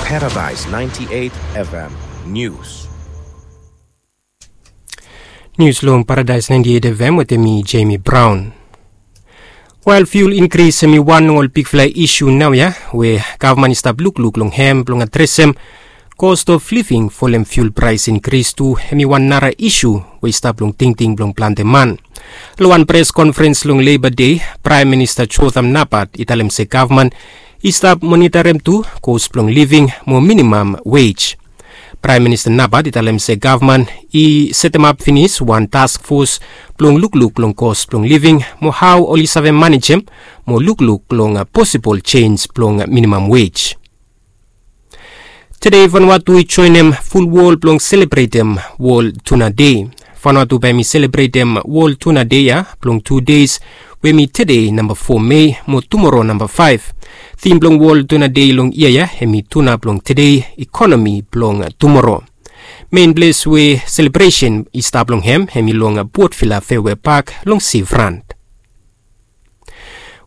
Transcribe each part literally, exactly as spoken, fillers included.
Paradise ninety-eight F M News. Nius long Paradise ninety-eight F M wetem mi, Jamie Brown. Wel, fuel inkris hemi wan long ol bigfala isu naoia we gavman i stap lukluk long hem blong adresem. Cost of living folem fuel praes inkris tu hemi wan nara isu we i stap long tingting blong plante man. Long wan pres konferens long Leiba Dei, Praem Minista Jotham Napat i talem se gavman i stap monitarem tu cost blong living mo minimam wej. Praem Minista Napat i talem se gavman i setemap finis wan task fos blong lukluk long cost blong living mo hao oli save manejem mo lukluk long posibol jenj blong minimam wej. Tede Vanuatu i joenem ful wol blong selebretem Wol Tuna Dei. Vanuatu bae mi selebretem Wol Tuna Dei ya blong tu deis, we mi tede namba fo Mei mo tumoro namba faef. Tim blong Wol Tuna Dei long yia ya hemi tuna blong tede, ikonomi blong tumoro. Men ples we selebresen i stap long hem hemi long Port Vila Fairway Park long Seafront.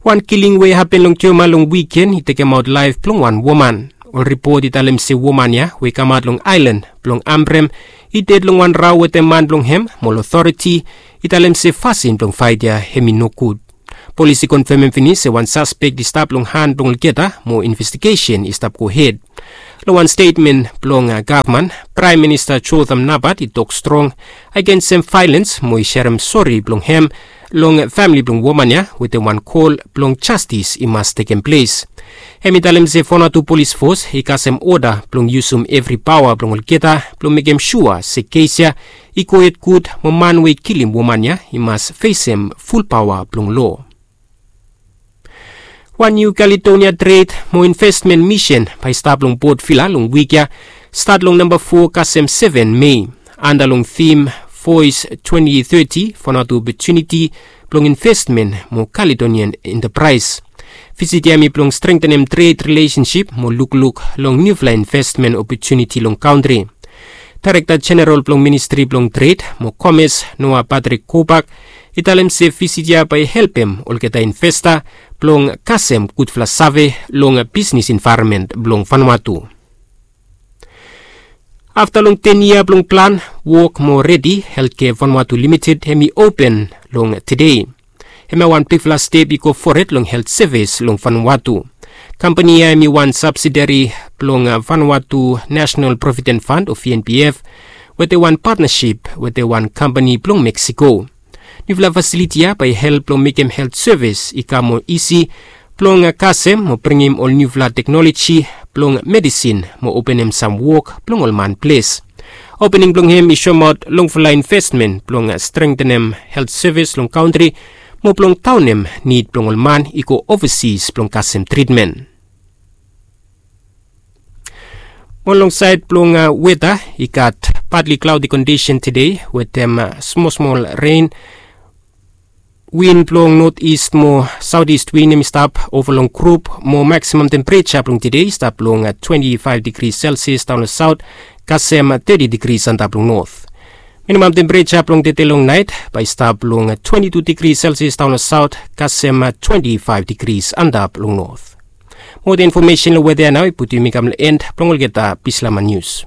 Wan kiling we i hapen long Joma long wiken i tekemaot laef blong wan woman. Ol ripot i talem se woman ya we i kamaot long aelan blong Ambrem i ded long wan rao wetem man blong hem, mo ol otoriti i talem se fasin blong faet ya hemi nogud. Polis i konfemem finis se wan saspek i stap long han blong olgeta mo investigesen i stap gohed. Long wan stetmen blong gavman, Praem Minista Jotham Napat i tok strong agensem vaelens mo i serem sori blong hem long famili blong woman ya wetem wan kol blong jastis i mas tekem ples. Hem i talem se Vanuatu Polis Fos i kasem oda blong yusum evri paoa blong olgeta blong mekem sua se kes ya i gohed gud mo man we i kilim woman ya i mas fesem ful paoa blong loa. Wan Niu Kaledonia tred mo investmen misen bae i stap long Port Vila long wik ya, stat long namba fo kasem seven Mei, anda long tim Voice twenty thirty, Vanuatu Opotuniti blong Investmen mo Caledonian Enterprise. Visit ya hemi blong strengtenem tred rilesensip mo lukluk long niufala investmen opotuniti long kantri. Daerekta Jeneral blong Ministri blong Tred mo Komes, Noah Patrick Kobak, i talem se visit ya bae i helpem olgeta investa blong kasem gudfala save long bisnis envaeronmen blong Vanuatu. Afta long ten yia blong plan, wok mo redi, Healthcare Vanuatu Limited hemi open long tede. Hemia wan bigfala step i go fored long helt sevis long Vanuatu. Kampani ya hemi wan sabsidari blong Vanuatu National Provident Fund o V N P F, wetem wan patnasip wetem wan kampani blong Meksiko. Niufala fasiliti ya bae i help blong mekem helt sevis i kam moa isi blong kasem mo bringim ol niufala teknoloji blong medisin mo openem sam wok blong ol man ples. Opening blong hem i soemaot longfala investmen blong strengtenem helt sevis long kantri mo blong daonem nid blong ol man i go ovasis blong kasem tritmen. Mo long saed blong weta, i gat partly cloudy kondisen tede wetem smosmol ren. Win blong notis mo saotis win hemi stap ova long grup, mo maksimam tempereja blong tede i stap long twenti faef digri selsias daon long saot kasem teti digri antap long not. Minimam tempereja blong tede long naet bae i stap long twenti tu digri selsias daon long saot kasem twenti faef digri antap long not. Moa infomesen long weta ya nao i putum yumi kam long en blong olgeta Bislama nius.